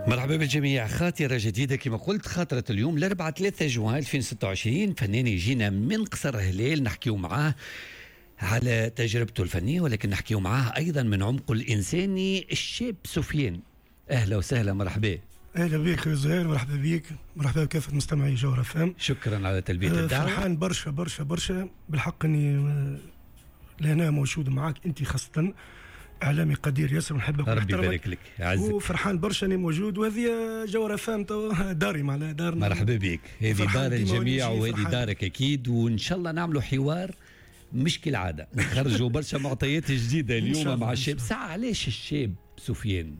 مرحبا بالجميع. خاطرة جديدة كما قلت، خاطرة اليوم الأربعاء 3 جوان 2026، فنان يجينا من قصر هلال نحكيو معاه على تجربته الفنية، ولكن نحكيو معاه أيضا من عمقه الإنساني الشاب سفيان. أهلا وسهلا، مرحبا. اهلا بك يا زهير، مرحبا بك، مرحبا بكافة مستمعي جوهرة فام. شكرا على تلبية الدعوة. فرحان برشا برشا برشا بالحق اني لهنا موجود معاك انت، خاصة اعلامي قدير ياسر ونحبك. ربي يبارك لك، يعزك. وفرحان برشا اني موجود، وهذه جوهرة فام داري، معناها دارنا. مرحبا بك، هذه دار الجميع وهذه دارك اكيد، وان شاء الله نعملوا حوار مش كالعادة، نخرجوا برشا معطيات جديدة اليوم مع الشاب. ساعة علاش الشاب سفيان؟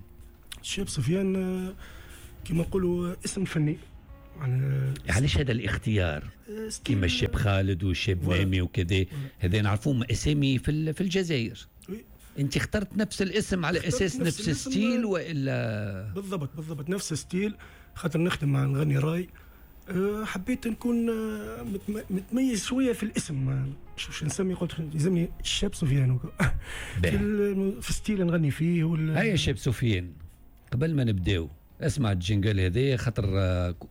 الشاب سفيان كما نقولوا اسم فني. علاش هذا الاختيار؟ كيما الشاب خالد والشاب مامي وكذا، هذا نعرفوهم اسامي في الجزائر. انت اخترت نفس الاسم على اساس نفس ال style والا؟ بالضبط بالضبط نفس ال style، خاطر نخدم مع نغني راي. حبيت نكون متميز شوية في الاسم، شو نسمي، قلت يسمي الشاب سفيان في style نغني فيه. هيا الشاب سفيان، قبل ما نبداو اسمع ال jingle هذا، خاطر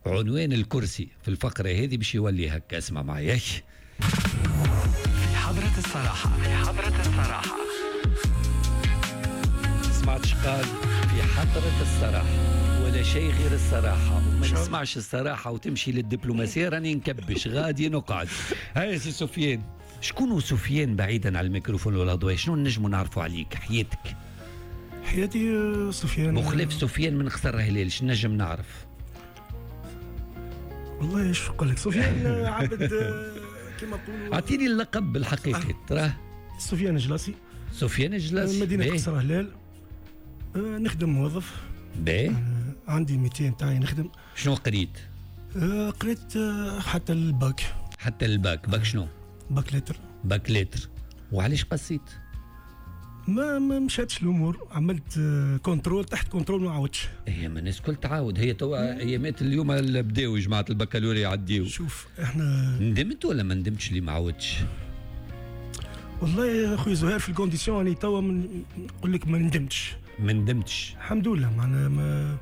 عنوان الكرسي في الفقرة هذه باش يولي هكا، اسمع معايا. في حضرة الصراحة، في حضرة الصراحة. سمعتش قال في حضرة الصراحة ولا شيء غير الصراحة، وما نسمعش الصراحة وتمشي للدبلوماسية راني نكبش غادي نقعد. هيا سي سفيان، شكون سفيان بعيدا على الميكروفون والأضواء؟ شنو نجمو نعرفوا عليك، حياتك؟ حياتي سفيان مخلف سفيان من قصر هلال، شنو نجم نعرف؟ والله ايش نقول لك، سفيان عبد كما نقولوا. اعطيني اللقب الحقيقي تراه. سفيان جلاسي. سفيان جلاسي، مدينة قصر هلال. نخدم موظف. باهي. عندي métier نتاعي نخدم. شنو قريت؟ قريت حتى الباك. حتى ال bac، bac شنو؟ bac lettres. bac lettres. وعلاش قصيت؟ ما مشاتش الامور، عملت contrôle تحت contrôle ما عاودش. هي ما الناس الكل تعاود، هي توا ايامات اليوم اللي بداو جماعة البكالوريا يعديو. شوف احنا ندمت ولا ما ندمتش اللي ما عاودش؟ والله يا خويا زهير في ال conditions راني توا نقول لك ما ندمتش. ما ندمتش الحمد لله، معناها ما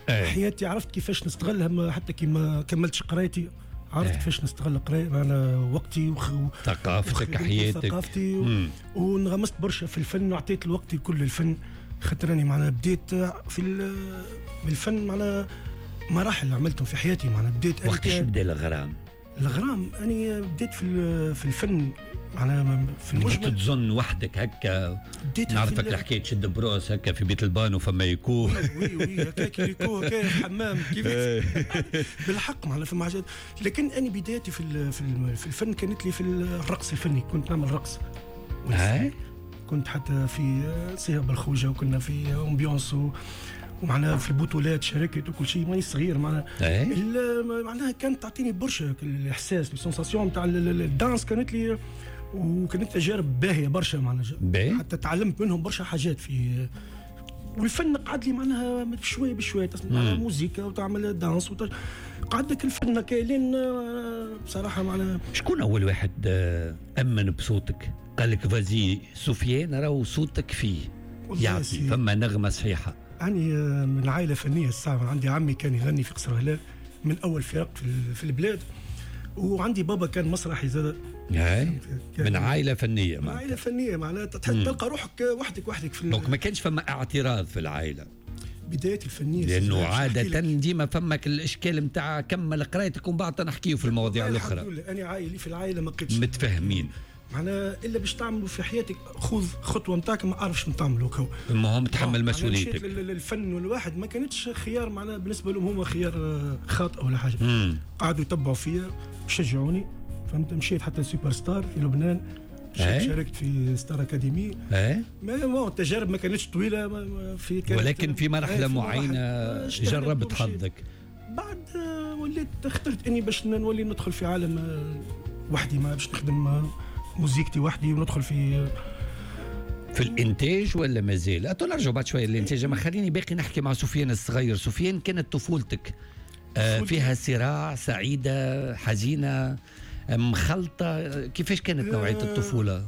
حياتي عرفت كيفاش نستغلها، حتى كي ما كملتش قرايتي عرفت كيفاش نستغل قرايتي، معناها وقتي ثقافتك، حياتك، ثقافتي، وانغمست برشا في الفن وعطيت الوقت كل الفن، خاطر راني معناها بديت في بالفن، معناها مراحل عملتهم في حياتي، معناها بديت. وقتاش بدا الغرام؟ الغرام أنا بديت في الفن، معناها في المجمل. تظن وحدك هكا، نعرفك الحكاية تشد brosse هكا في بيت البان وفما écho. oui oui هكاك écho هكا الحمام كيف بالحق، معناها فما حاجات. لكن انا بدايتي في الفن كانت لي في الرقص الفني، كنت نعمل رقص. كنت حتى في صيغ بالخوجه، وكنا في ambiance، ومعناها في البطولات شاركت وكل شيء، ماني صغير معناها. معناها كانت تعطيني برشا الاحساس، ال sensation تاع ال danse كانت لي، وكانت تجارب باهيه برشا معناها، حتى تعلمت منهم برشا حاجات في والفن. قعد لي معناها بشوية بشوية تسمع موزيكا وتعمل danse قعد لك الفن كاين بصراحة معناها. شكون اول واحد امن بصوتك قال لك vas-y سفيان راهو صوتك فيه يعطي فما نغمة صحيحه؟ أنا من عائلة فنية الساعة، عندي عمي كان يغني في قصر هلال من أول فرق في البلاد، وعندي بابا كان مسرحي زاد. من عائلة فنية، من عائلة فنية معناها تلقى روحك وحدك في. donc ما كانش فما اعتراض في العائلة بداية الفنية، لأنه عادة ديما فما الإشكال متاع كمل قرايتك ومن بعد نحكيو في المواضيع الأخرى. الحمد لله أنا عائلي في العائلة ما بقيتش متفاهمين، معناها إلا باش تعملوا في حياتك خذ خطوة نتاعك ما أعرفش نتعملوا كو. المهم تحمل مسؤوليتك. الفن والواحد ما كانتش خيار، معناها بالنسبة لهم هما خيار خاطئ ولا حاجة. قعدوا يتبعوا فيا شجعوني، فهمت. مشيت حتى سوبر ستار في لبنان، شاركت في ستار أكاديمي. ما التجارب ما كانتش طويلة في كانت، ولكن في مرحلة معينة جربت حظك. بعد وليت اخترت إني باش نولي ندخل في عالم وحدي، ما باش نخدم موزيكتي وحدي وندخل في الانتاج ولا مازال؟ نرجع بعد شوية للانتاج، ما خليني باقي نحكي مع سفيان الصغير. سفيان كانت طفولتك فيها صراع، سعيدة، حزينة، مخلطه، كيفاش كانت نوعية الطفولة؟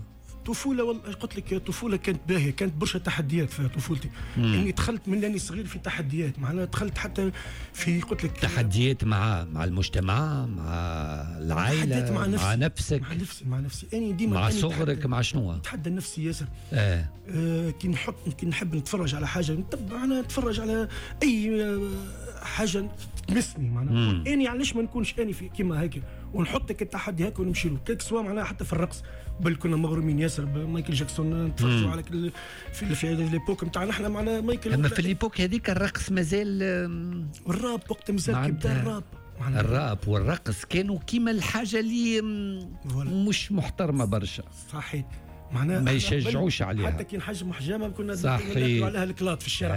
الطفولة قلت لك الطفولة كانت باهيه، كانت برشا تحديات في طفولتي. اني دخلت من اني صغير في تحديات، معناها دخلت حتى في قلت لك تحديات مع المجتمع، مع العائلة، مع نفسي، مع نفسك، مع نفسي اني ديما مع صغرك، مع شنو؟ نتحدى نفسي ياسر. كي نحب نتفرج على حاجة نتبع، انا نتفرج على اي حاجة تمسني معناها اني علاش ما نكونش اني في كيما هيك، ونحطك التحدي هيك ونمشي له que ce soit معناها حتى في الرقص. بل كنا مغرومين ياسر بمايكل جاكسون، نتفرجوا على كل في l'époque نتاعنا احنا معنا مايكل. اما في l'époque هذيك الرقص مازال، الراب وقت مازال كي بدا الراب، الراب والرقص كانوا كيما الحاجة اللي مش محترمه برشا. صحيح، معناها ما يشجعوش عليها، حتى كي نحجموا حجامة كنا ناكلوا عليها الكلاط في الشارع.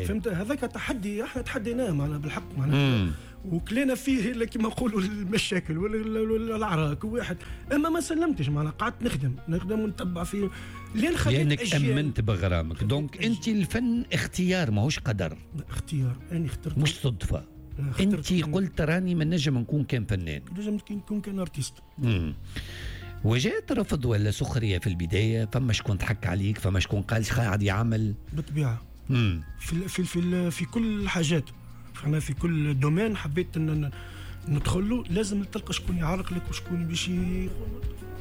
فهمت؟ هذاك تحدي احنا تحديناه معنا بالحق، معناها وكلينا فيه كما نقولوا المشاكل ولا العراك واحد، اما ما سلمتش معناها، قعدت نخدم ونتبع فيه لين خليت لانك امنت بغرامك. donc انت الفن اختيار ماهوش قدر. اختيار، انا اخترت، مش صدفة. انت قلت راني ما نجم نكون كان فنان، نجم نكون كان artiste. وجات رفض ولا سخرية في البداية؟ فما شكون ضحك عليك، فما شكون قال قاعد يعمل؟ بالطبيعة في في في في كل الحاجات، انا في كل domaine حبيت ان ندخل له لازم تلقى شكون يعرق لك وشكون باش،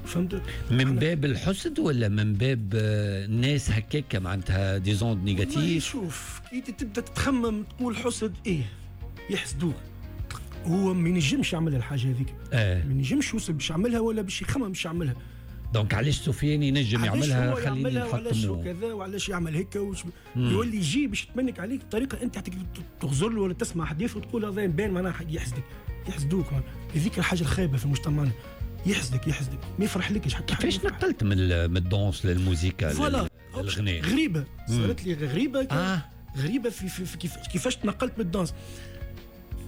فهمت؟ من باب الحسد ولا من باب الناس هكاك معناتها des ondes négatives؟ شوف كي تبدا تخمم تقول حسد، ايه يحسدوك، هو ما ينجمش يعمل الحاجة هذيك، ما ينجمش يوصل باش يعملها ولا باش يخمم باش يعملها. donc علاش سفيان ينجم يعملها، خليني نحطمه، وعلاش كذا وعلاش يعمل هيك، يولي يجي باش يتمنك عليك بطريقة انت تغزر له ولا تسمع حديث وتقول هذا يبان معناها يحسدك، يحسدوك. هذيك الحاجة الخايبة في مجتمعنا، يحسدك ما يفرحلكش حتى. كيفاش نقلت من ال danse للموسيقى للغناء؟ غريبة صارت لي غريبة. غريبة في كيفاش تنقلت من ال danse.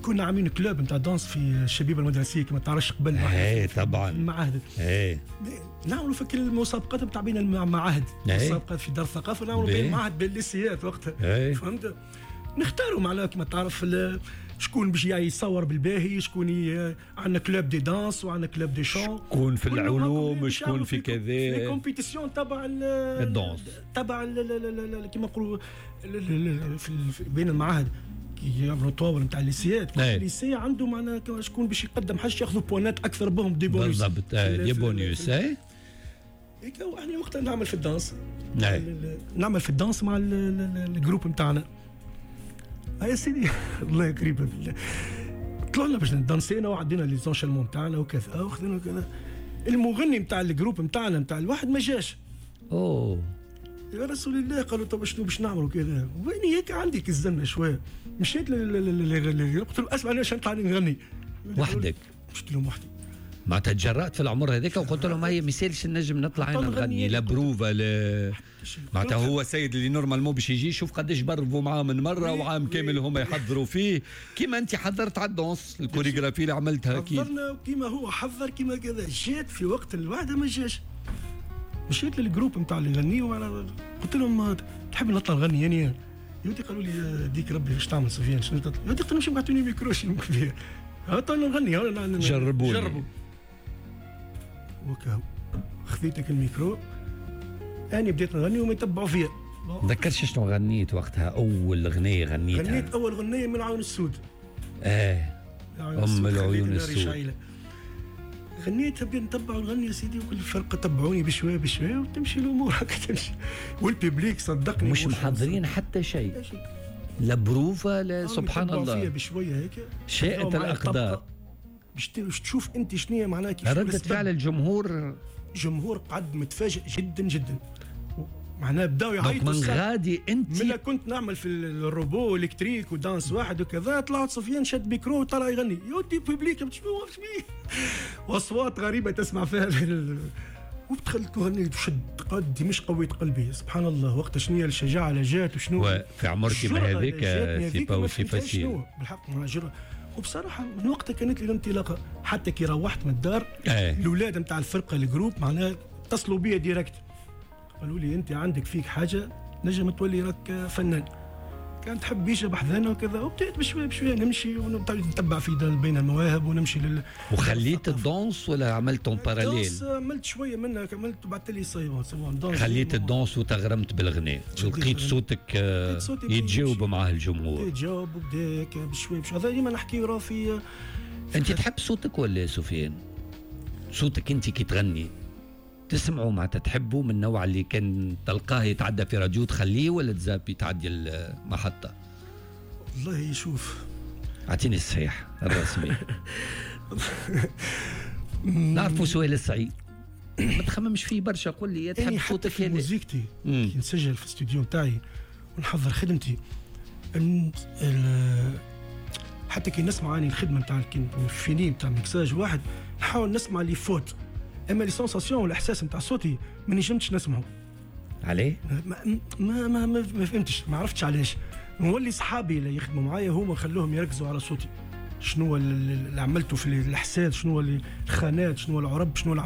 كنا عاملين club نتاع danse في الشبيبة المدرسية كما تعرفش قبل. ايه طبعا المعاهد. ايه نعملوا في كل المسابقات نتاع بين المعاهد، مسابقات في دار الثقافة نعملوا بين المعاهد بين الليسيات وقتها. فهمت؟ نختاروا معناها كما تعرف شكون باش يصور بالباهي، شكون عندنا club de danse وعندنا club de chant، شكون في العلوم، شكون في كذا، في compétition تبع ال danse تبع كما نقولوا بين المعاهد كي يعملوا طاول نتاع الليسيات. كل lycée عنده معناها شكون باش يقدم حاجة ياخذوا بوانات اكثر بهم، des bonus. بالضبط، des bonus. اي هيك احنا وقتها نعمل في ال danse، نعمل في ال danse مع ال groupe نتاعنا. يا سيدي الله يكرمك بالله، طلعنا باش ندانسينا وعدينا les enchaînements نتاعنا وكذا وخذينا كذا. المغني نتاع ال groupe نتاعنا نتاع الواحد ما جاش. اوه يا رسول الله، قالوا طب شنو باش نعملوا كذا؟ وين هيك عندك الزنه شوية. مشيت قلت لهم اسمع، انا نطلع نغني وحدك. مشيت لهم وحدي، معناتها تجرأت في العمر هذاك وقلت لهم هيا ما يسالش نجم نطلع انا نغني، لا بروفا لا معناتها. هو السيد اللي normalement باش يجي شوف قداش برفوا معاه من مرة وعام كامل هما يحضروا فيه، كيما انت حضرت على ال danse ال chorégraphie اللي عملتها، كيف حضرنا كيما هو حضر كيما كذا. جات في وقت الوعده ما جاش. مشيت لل groupe نتاع اللي يغنيوا، قلت لهم تحب نطلع نغني يعني؟ يودي قالوا لي ديك ربي باش تعمل سفيان شنو تطلع؟ يودي قلت لهم مش بعثوني ميكرو شنو كبير، نغني جربوا وكاو. خذيتك الميكرو أنا بديت نغني وما يتبعوا فيا. تذكرش شنو غنيت وقتها؟ أول غنية غنيتها؟ غنيت أول غنية من العيون السود. أم العيون السود. غنيتها بديت نتبع ونغني يا سيدي، وكل الفرقة تبعوني بشوية بشوية وتمشي الأمور هكا تمشي. وال public صدقني مش محضرين حتى شيء، لا بروفة لا، سبحان الله فيها بشوية هيك شاءت الأقدار. باش تشوف انت شنو معناها كيف ردة فعل الجمهور. الجمهور قعد متفاجئ جدا جدا، معناها بداو يعيطوا. من غادي انت من كنت نعمل في ال robot électrique و danse واحد وكذا، طلعت سفيان شد ميكرو وطلع يغني يودي public واصوات غريبة تسمع فيها. ودخلت وغنيت وشد قدي مش قويت قلبي سبحان الله. وقتها شنو الشجاعة اللي جات وشنو في عمرك ما هذيك c'est pas aussi facile بالحق. وبصراحة من وقتها كانت لي الانطلاقة. حتى كي روحت من الدار الاولاد نتاع الفرقة ال groupe معناها اتصلوا بيا direct، قالوا لي انت عندك فيك حاجة نجم تولي راك فنان. كان تحب يجي بحذانا وكذا. وبديت بشوية بشوية نمشي ونتبع في بين المواهب ونمشي لل وخليت ال danse ولا عملت en parallèle؟ ال danse عملت شوية منها، كملت وبعد لي c'est bon c'est bon. خليت ال danse وتغرمت بالغناء، لقيت صوتك يتجاوب معاه الجمهور. يتجاوب وبدا بشوية بشويه. هذا ديما نحكي راه في. انت تحب صوتك ولا سفيان؟ صوتك انت كي تغني تسمعوا معناتها تحبوا، من النوع اللي كان تلقاه يتعدى في راديو تخليه ولا تزابي تعدي المحطة؟ والله شوف، اعطيني الصحيح الرسمي. نعرفوا سؤال الصعيب، ما تخممش فيه برشا، قول لي تحب صوتك. في موزيكتي كي نسجل في الاستوديو نتاعي ونحضر خدمتي، حتى كي نسمع اني الخدمة نتاع finie نتاع ميكساج واحد، نحاول نسمع les fautes، اما les sensations والاحساس نتاع صوتي ما نجمتش نسمعه. عليه؟ ما ما ما, ما, ما فهمتش، ما عرفتش علاش. نولي صحابي اللي يخدموا معايا هما خلوهم يركزوا على صوتي، شنو اللي عملته في الاحساس، شنو الخانات، شنو العرب، شنو اللي